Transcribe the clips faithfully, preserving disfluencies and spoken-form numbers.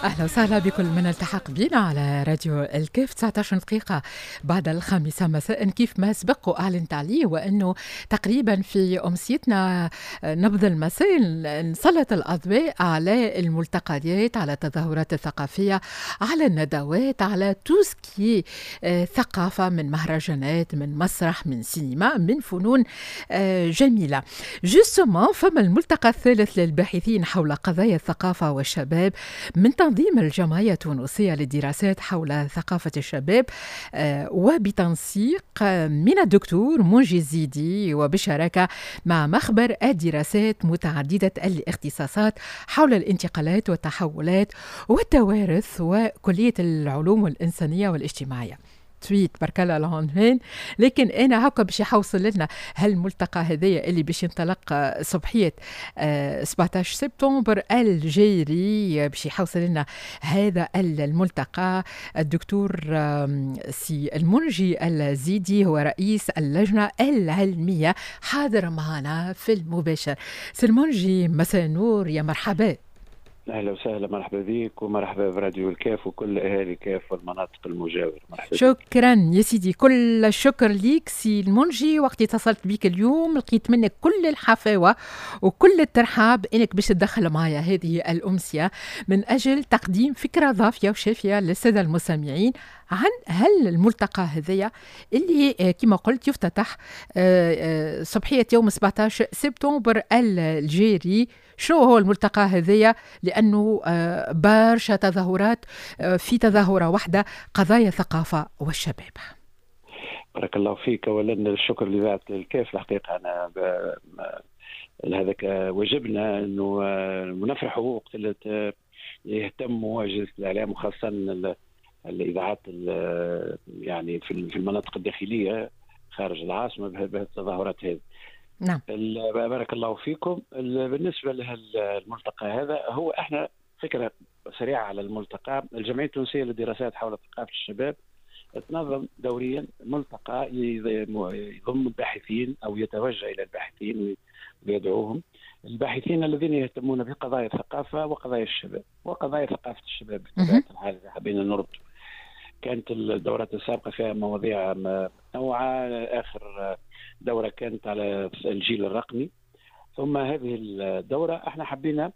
أهلا وسهلا بكل من التحق بنا على راديو الكاف. تسعة عشر دقيقة بعد الخامسة مساء. كيف ما سبق وأعلنت عليه، وأنه تقريبا في أمسيتنا نبض المساء نسلط الأضواء على الملتقيات، على التظاهرات الثقافية، على الندوات، على tout ce qui est ثقافة، من مهرجانات، من مسرح، من سينما، من فنون آه، جميلة. justement فما الملتقى الثالث للباحثين حول قضايا الثقافة والشباب من تنظيم الجمعية التونسية للدراسات حول ثقافة الشباب آه، وبتنسيق من الدكتور منجي الزيدي وبشراكة مع مخبر الدراسات متعددة الاختصاصات حول الانتقالات والتحولات والتوارث وكلية العلوم الإنسانية والاجتماعية. طويل تبارك الله العنوان، لكن انا هكا باش يحوصل لنا هالملتقى هذايا اللي باش ينطلق صبحيه سبعة عشر سبتمبر الجاري. باش يحوصل لنا هذا الملتقى الدكتور سي المنجي الزيدي، هو رئيس اللجنة العلميه، حاضر معنا في المباشر. سي المنجي، مساء النور، يا مرحبا. اهلا وسهلا، مرحبا بك ومرحبا براديو الكاف وكل اهالي كاف والمناطق المجاوره، مرحبا. شكرا يا سيدي، كل الشكر ليك سي المنجي. وقت اتصلت بك اليوم لقيت منك كل الحفاوه وكل الترحاب انك باش تدخل معايا هذه الامسيه من اجل تقديم فكرة ضافيه وشافيه للسادة المستمعين عن هل الملتقى هذايا اللي آه، كما قلت يفتتح آه، آه، صبحيه يوم سبعة عشر سبتمبر الجاري. شنو هو الملتقى هذايا؟ لانه برشا تظاهرات في تظاهرة واحده، قضايا الثقافة والشباب. بارك الله فيك. اولا الشكر لاذاعة الكاف. الحقيقة انا هذاك واجبنا انه نفرحوا وقت اللي يهتموا اجهزة الاعلام وخاصة الاذاعات، يعني في المناطق الداخلية خارج العاصمه، بهالتظاهرات هذه. نعم. بارك الله فيكم. بالنسبة للملتقى هذا، هو احنا فكرة سريعة على الملتقى: الجمعية التونسية للدراسات حول ثقافة الشباب تنظم دوريا ملتقى يضم الباحثين او يتوجه الى الباحثين ويدعوهم، الباحثين الذين يهتمون بقضايا الثقافة وقضايا الشباب وقضايا ثقافة الشباب بطبيعة الحال اذا حبينا نربط. كانت الدورات السابقة فيها مواضيع متنوعه، اخر دوره كانت على الجيل الرقمي. ثم هذه الدورة احنا حبينا،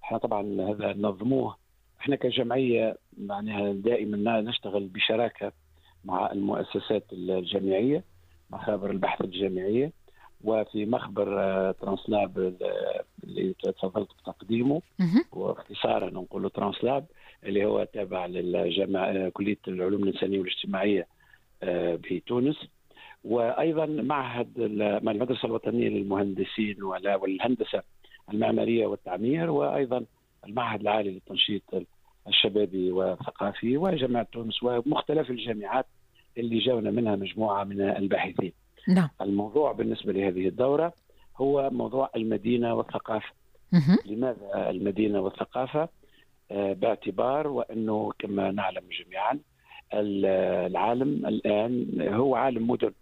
احنا طبعا هذا نظموه احنا كجمعيه، معناها دائما نشتغل بشراكه مع المؤسسات الجامعيه، مخابر البحث الجامعيه، وفي مخبر آه، ترانسلاب اللي تفضلت بتقديمه، واختصارا نقول ترانسلاب، اللي هو تابع للجامعة كليه العلوم الانسانية والاجتماعية آه، بتونس، وايضا معهد المدرسة الوطنية للمهندسين والهندسة المعمارية والتعمير، وايضا المعهد العالي للتنشيط الشبابي والثقافي، وجامعة تونس، ومختلف الجامعات اللي جاونا منها مجموعة من الباحثين. نعم. الموضوع بالنسبة لهذه الدورة هو موضوع المدينة والثقافة. لماذا المدينة والثقافة؟ آه، باعتبار وأنه كما نعلم جميعا العالم الآن هو عالم مدن.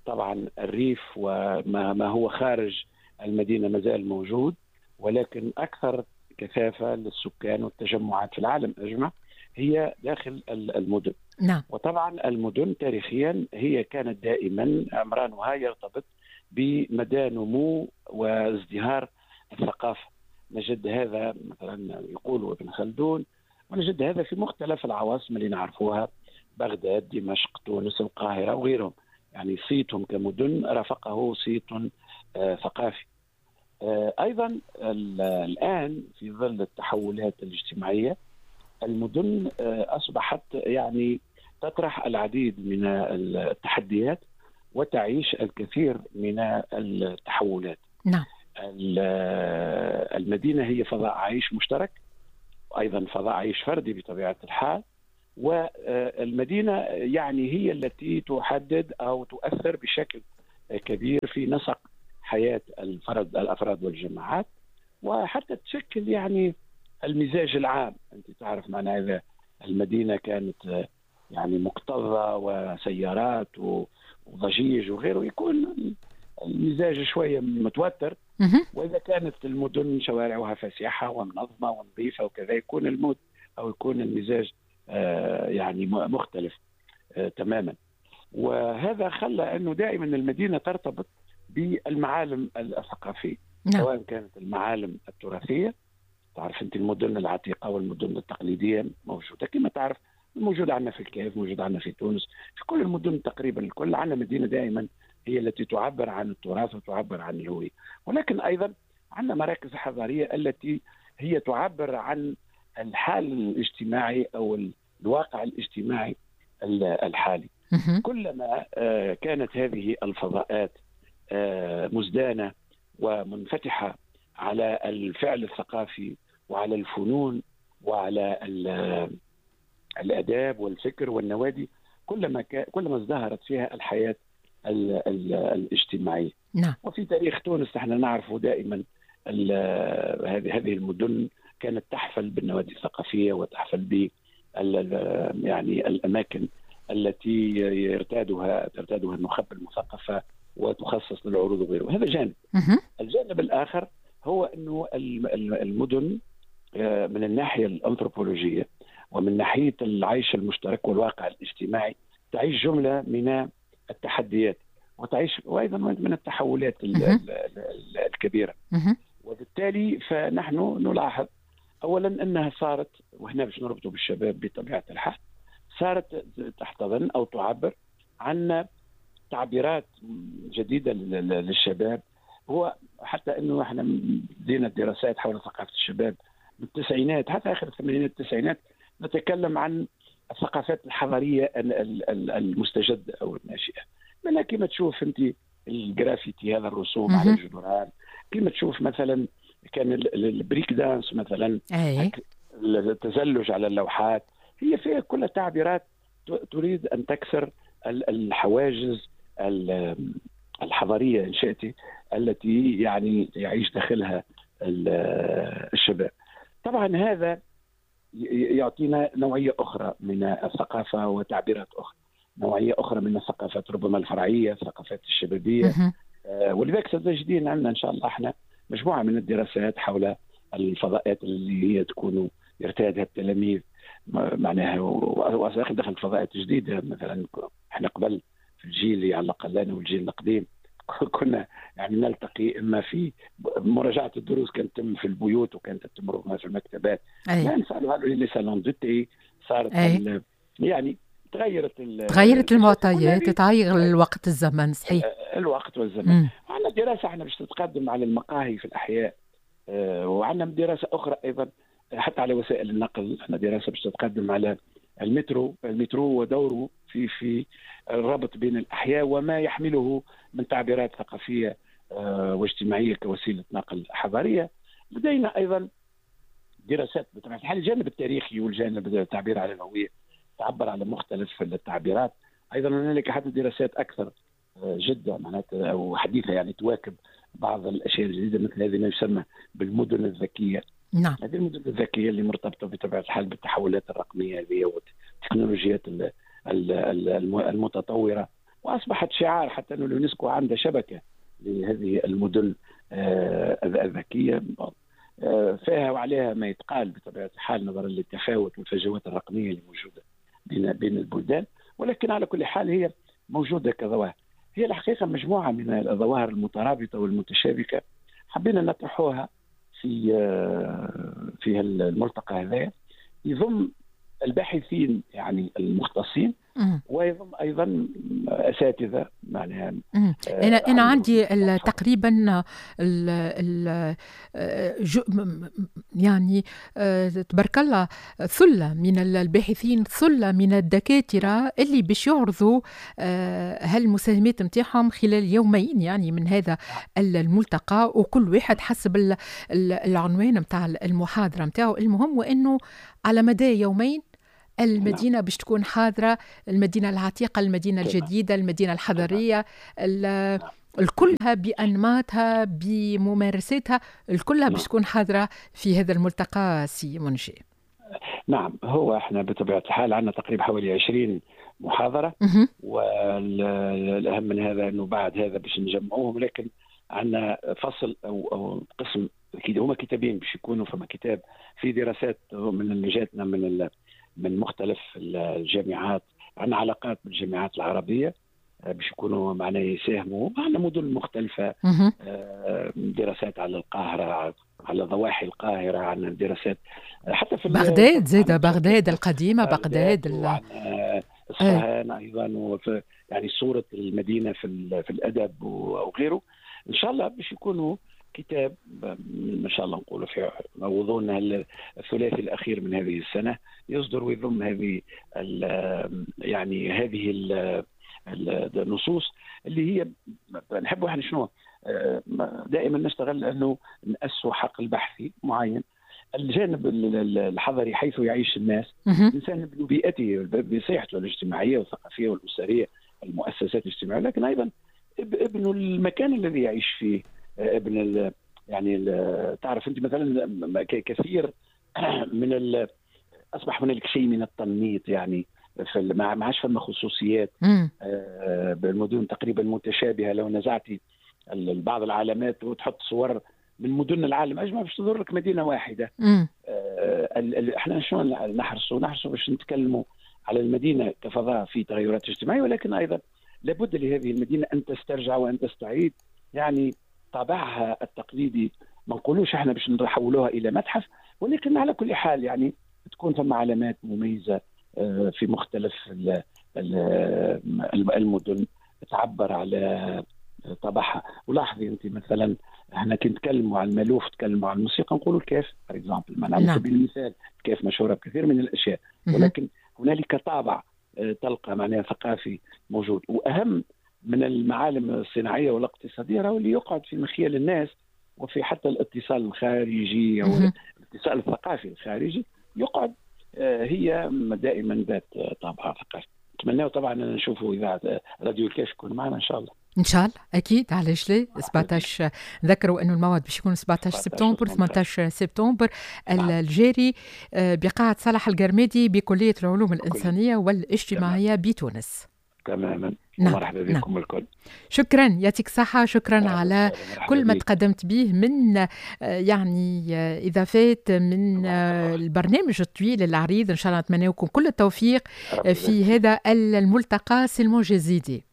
طبعا الريف وما ما هو خارج المدينة ما زال موجود، ولكن أكثر كثافة للسكان والتجمعات في العالم أجمع هي داخل المدن. نعم. وطبعا المدن تاريخيا هي كانت دائما عمرانها يرتبط بمدى نمو وازدهار الثقافة. نجد هذا مثلا يقول ابن خلدون، ونجد هذا في مختلف العواصم اللي نعرفوها: بغداد، دمشق، تونس، القاهرة وغيرهم. يعني صيتهم كمدن رافقه صيت آه، ثقافي. آه، أيضا الآن في ظل التحولات الاجتماعية المدن آه، أصبحت يعني تطرح العديد من التحديات وتعيش الكثير من التحولات. نعم. المدينة هي فضاء عيش مشترك، أيضا فضاء عيش فردي بطبيعة الحال، والمدينة يعني هي التي تحدد أو تؤثر بشكل كبير في نسق حياة الفرد الأفراد والجماعات، وحتى تشكل يعني المزاج العام. أنت تعرف معناها إذا المدينة كانت يعني مكتظة وسيارات وضجيج وغيره يكون المزاج شوية متوتر، واذا كانت المدن شوارعها فسيحه ومنظمة ونظيفه وكذا يكون ال mood أو يكون المزاج يعني مختلف تماما. وهذا خلى أنه دائما المدينة ترتبط بالمعالم الثقافية، نعم. سواء كانت المعالم التراثية، تعرف أنت المدن العتيقة والمدن التقليدية موجودة كما تعرف، موجودة عندنا في الكاف، موجودة عندنا في تونس، في كل المدن تقريبا الكل عندنا مدينة دائما هي التي تعبر عن التراث وتعبر عن الهوية. ولكن أيضا عندنا مراكز حضارية التي هي تعبر عن الحال الاجتماعي أو الواقع الاجتماعي الحالي. كلما كانت هذه الفضاءات مزدانة ومنفتحة على الفعل الثقافي وعلى الفنون وعلى الآداب والفكر والنوادي، كلما كلما ازدهرت فيها الحياة ال ال الاجتماعية. نعم. وفي تاريخ تونس نحن نعرف دائما هذه هذه المدن كانت تحفل بالنوادي الثقافية وتحفل ب يعني الأماكن التي يرتادها ترتادها النخب المثقفة وتخصص للعروض وغيره. هذا جانب. الجانب الآخر هو أنه المدن من الناحية الأنثروبولوجية ومن ناحية العيش المشترك والواقع الاجتماعي تعيش جملة من التحديات وتعيش وأيضا من التحولات الكبيرة. وبالتالي فنحن نلاحظ أولا أنها صارت، وهنا باش نربطه بالشباب بطبيعة الحال، صارت تحتضن أو تعبر عن تعبيرات جديدة للشباب. هو حتى أنه احنا بدينا الدراسات حول ثقافة الشباب بالتسعينات، حتى آخر الثمانينات التسعينات، نتكلم عن الثقافات الحضارية المستجدة أو الناشئة. منها كما تشوف أنت الجرافيتي، هذا الرسوم على الجدران، كما تشوف مثلا كان ال break dance مثلا، التزلج على اللوحات، هي فيها كل تعبيرات تريد أن تكسر الحواجز الحضارية إن شئت التي يعني يعيش داخلها الشباب. طبعا هذا يعطينا نوعية أخرى من الثقافة وتعبيرات أخرى، نوعية أخرى من الثقافات ربما الفرعية، الثقافات الشبابية. ولذلك ستجدين عندنا إن شاء الله احنا مجموعة من الدراسات حول الفضاءات اللي هي تكون يرتادها التلاميذ، معناها وأخي دخلت فضاءات جديدة. مثلا احنا قبل في الجيل اللي على الأقل أنا والجيل القديم كنا يعني نلتقي إما في مراجعة الدروس كانت تتم في البيوت وكانت تتم ربما في المكتبات. الآن صاروا les salons de thé، صارت يعني تغيرت تغيرت المعطيات، تغير الوقت الزمن. صحيح، الوقت والزمن. عندنا دراسة احنا باش تتقدم على المقاهي في الأحياء، وعندنا دراسة أخرى أيضا حتى على وسائل النقل. عندنا دراسة باش تتقدم على المترو، المترو ودوره في في الربط بين الأحياء وما يحمله من تعبيرات ثقافية واجتماعية كوسيلة نقل حضارية. لدينا أيضا دراسات بطبيعة الحال الجانب التاريخي والجانب التعبير على الهوية تعبر على مختلف التعبيرات. أيضا هنالك حتى دراسات أكثر جدا معناتها أو حديثة يعني تواكب بعض الأشياء الجديدة، مثل هذه ما يسمى بالمدن الذكية. نعم. هذه المدن الذكية اللي مرتبطة بطبيعة الحال بالتحولات الرقمية هذه والتكنولوجيات المتطورة، وأصبحت شعار حتى أن اليونسكو عندها شبكة لهذه المدن الذكية فيها وعليها ما يتقال بطبيعة الحال نظرا للتفاوت والفجوات الرقمية اللي موجودة بين بين البلدان، ولكن على كل حال هي موجودة كظواهر. هي الحقيقة مجموعة من الظواهر المترابطة والمتشابكة حبينا نطرحوها في في الملتقى هذا، يضم الباحثين يعني المختصين ويضم ايضا اساتذة معناها. انا انا عندي تقريبا ال ال يعني تبارك الله ثلة من الباحثين، ثلة من الدكاترة اللي باش يعرضوا هالمساهمات نتاعهم خلال يومين يعني من هذا الملتقى، وكل واحد حسب العنوان نتاع المحاضرة نتاعو. المهم وانه على مدى يومين المدينة باش تكون حاضرة، المدينة العتيقة، المدينة الجديدة، المدينة الحضرية، الكلها بأنماطها بممارساتها الكلها باش تكون حاضرة في هذا الملتقى سي منجي. نعم، هو احنا بطبيعة الحال عندنا تقريبا حوالي عشرين محاضرة، والأهم من هذا أنه بعد هذا باش نجمعوهم، لكن عندنا فصل او او قسم، هما كتابين باش يكونوا، فما كتاب في دراسات من جاتنا من من مختلف الجامعات، عندنا علاقات بالجامعات العربية باش يكونوا معنا يساهموا، عندنا مدن مختلفة، دراسات على القاهرة، على ضواحي القاهرة، عندنا دراسات حتى في بغداد، زادة بغداد القديمة، بغداد اصفهان ايضا، وفي يعني صوره المدينة في في الادب وغيره. ان شاء الله باش يكونوا كتاب ان شاء الله نقولوا في موضوعنا الثلاثي الاخير من هذه السنة يصدر ويضم هذه يعني هذه النصوص اللي هي نحبوا احنا شنو دائما نشتغل انه نأسوا حقل بحثي معين، الجانب الحضري حيث يعيش الناس، الانسان ببيئته بصحته الاجتماعية والثقافية والاسرية، المؤسسات الاجتماعية، لكن ايضا ابن المكان الذي يعيش فيه، ابن ال يعني ال تعرف انت مثلا كثير من ال اصبح هنالك شيء من التنميط، يعني في ما عادش فما خصوصيات، آه بالمدن تقريبا متشابهة. لو نزعتي بعض العلامات وتحط صور من مدن العالم اجمع باش تظهر لك مدينة واحدة. آه احنا شنو نحرصوا؟ نحرصوا باش نتكلموا على المدينة كفضاء في تغيرات اجتماعية، ولكن ايضا لابد لهذه المدينة ان تسترجع وان تستعيد يعني طابعها التقليدي. ما نقولوش احنا باش نحولوها الى متحف، ولكن على كل حال يعني تكون ثم علامات مميزة في مختلف المدن تعبر على طابعها. ولاحظي انت مثلا احنا كي نتكلموا على المالوف، نتكلموا على الموسيقى، نقولوا الكاف par exemple، على سبيل المثال الكاف مشهورة بكثير من الاشياء، ولكن هنالك طابع تلقى معناها ثقافي موجود. واهم من المعالم الصناعية والاقتصادية راهو اللي يقعد في مخيال الناس، وفي حتى الاتصال الخارجي او الاتصال الثقافي الخارجي يقعد، هي دائما ذات طابع ثقافي. نتمنى طبعا ان نشوفوا اذاعة راديو الكاف يكون معنا ان شاء الله. ان شاء الله اكيد، علاش لا. سبعطاش نذكروا انه الموعد باش يكون سبعطاش سبتمبر ثمنطاش سبتمبر الجاري بقاعه صالح القرمادي بكلية العلوم الانسانية والاجتماعية بتونس. تماما. نعم. مرحبا بكم. نعم. الكل. شكرا، يعطيك الصحة، شكرا على كل ما تقدمت به من يعني إضافات من البرنامج الطويل العريض. إن شاء الله نتمنى لكم كل التوفيق في هذا الملتقى. سي المنجي الزيدي،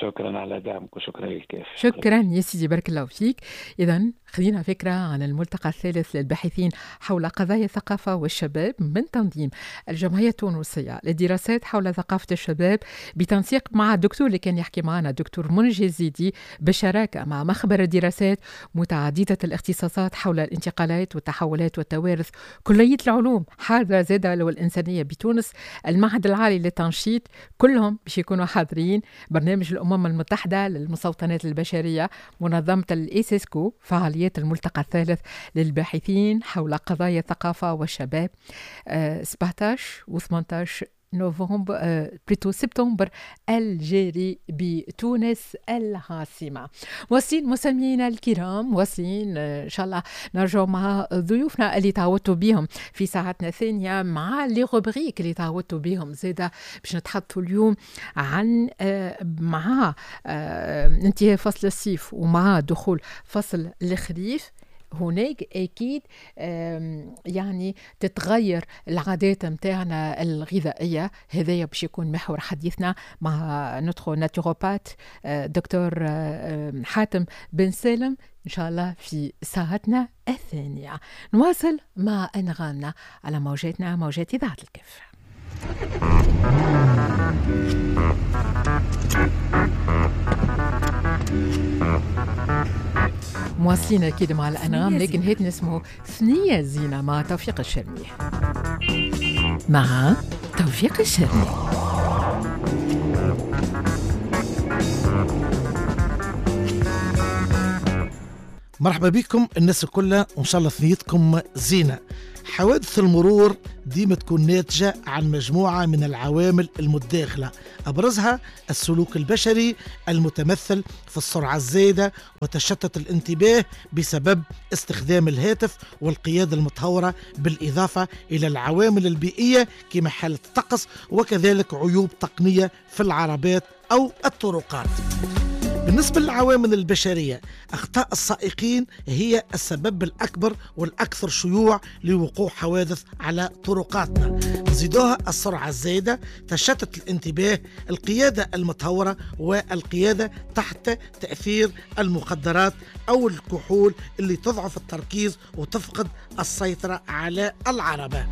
شكرا على دعمك وشكرا للكاف. شكرا يا سيدي، بارك الله فيك. إذا خلينا فكرة عن الملتقى الثالث للباحثين حول قضايا الثقافة والشباب من تنظيم الجمعية التونسية للدراسات حول ثقافة الشباب بتنسيق مع الدكتور اللي كان يحكي معنا الدكتور منجي الزيدي، بشراكة مع مخبر الدراسات متعددة الاختصاصات حول الانتقالات والتحولات والتوارث، كلية العلوم حاضرة زادة والإنسانية بتونس، المعهد العالي للتنشيط، كلهم باش يكونوا حاضرين. برنامج الأمم المتحدة للمستوطنات البشرية، منظمة الإيسيسكو، فعاليات الملتقى الثالث للباحثين حول قضايا الثقافة والشباب سبعطاش و ثمنطاش نوفمبر plutôt سبتمبر الجاري بتونس العاصمة. واصلين مستمعينا الكرام، واصلين إن شاء الله نرجع مع ضيوفنا اللي تعودتوا بهم في ساعتنا الثانية مع les rubriques اللي تعودتوا بهم زادة، باش نتحدثوا اليوم عن مع انتهاء فصل الصيف ومع دخول فصل الخريف. هناك أكيد يعني تتغير العادات متاعنا الغذائية. هذايا باش يكون محور حديثنا مع notre naturopathe دكتور حاتم بن سالم إن شاء الله في ساعتنا الثانية. نواصل مع أنغامنا على موجاتنا، موجات إذاعة الكاف. مواصلين أكيد مع الأنغام، لكن هيك نسمه ثنية زينة مع توفيق الشرمي. مع توفيق الشرمي. مرحبا بكم الناس الكل، وإن شاء الله ثنيتكم زينة. حوادث المرور ديما تكون ناتجة عن مجموعة من العوامل المتداخلة، أبرزها السلوك البشري المتمثل في السرعة الزايدة وتشتت الانتباه بسبب استخدام الهاتف والقيادة المتهورة، بالإضافة إلى العوامل البيئية كما حالة الطقس، وكذلك عيوب تقنية في العربات أو الطرقات. بالنسبة بالنسبة للعوامل البشرية، أخطاء السائقين هي السبب الأكبر والأكثر شيوع لوقوع حوادث على طرقاتنا. نزيدوها السرعة الزايدة، تشتت الانتباه، القيادة المتهورة، والقيادة تحت تأثير المخدرات أو الكحول اللي تضعف التركيز وتفقد السيطرة على العربة.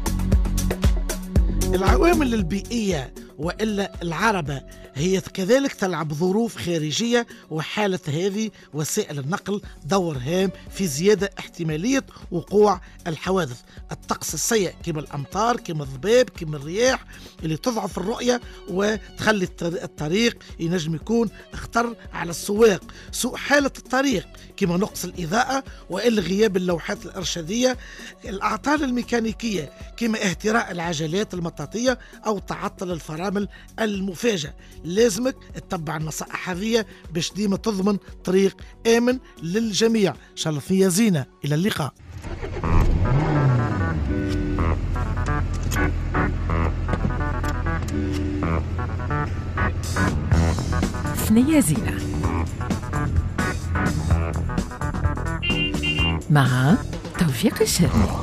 العوامل البيئية وإلا العربة هي كذلك تلعب ظروف خارجية، وحالة هذه وسائل النقل دور هام في زيادة احتمالية وقوع الحوادث. الطقس السيء كما الأمطار كما الضباب كما الرياح اللي تضعف الرؤية وتخلي الطريق ينجم يكون خطر على السواق. سوء حالة الطريق كما نقص الإضاءة وإلا غياب اللوحات الإرشادية. الأعطال الميكانيكية كما اهتراء العجلات المطاطية أو تعطل الفرامل المفاجئ. لازمك تتبع النصائح هذه باش ديما تضمن طريق آمن للجميع. إن شاء الله فيا زينة، إلى اللقاء. ثنية زينة مع توفيق الشرمي.